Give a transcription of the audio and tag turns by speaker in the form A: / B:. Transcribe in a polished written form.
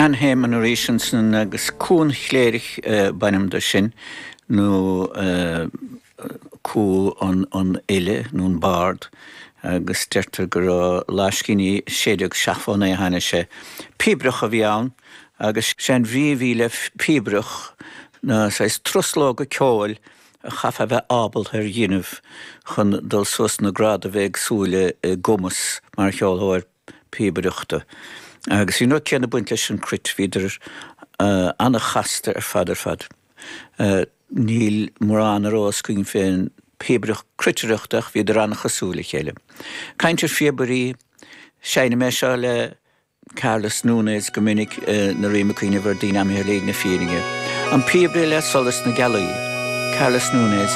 A: Ann Heymann arís ansan agus Cú an Chléirigh b'ainm do sin, nó Cú an Fhile nó an Bard, agus deirtear go raibh laiscíní, 1679 a tháinig sé. Píobaireach a bhí ann agus sé an bhrí a bhí le píobaireach ná saghas truslóga ceoil a chaithfeá a bheith ábalta ar dhéanamh chun dul suas na gradaimh éagsúla i gcumas mar cheolthóir píobaireachta. Agus bhí an rud céanna ag baint leis an cruit, bhíodar an-chasta ar fad ar fad. Níl mórán ar eolas againn fén phíobaireacht cruitireachta ach bhíodar an-chosúil le chéile. Caint ar phíobairí, seinnim é seo le Carlos Núñez go minic nuair a bhím ag cuimhneamh ar daoine imithe ar shlí na fírinne. An Píobaire le Solas na Gealaí, Carlos Núñez.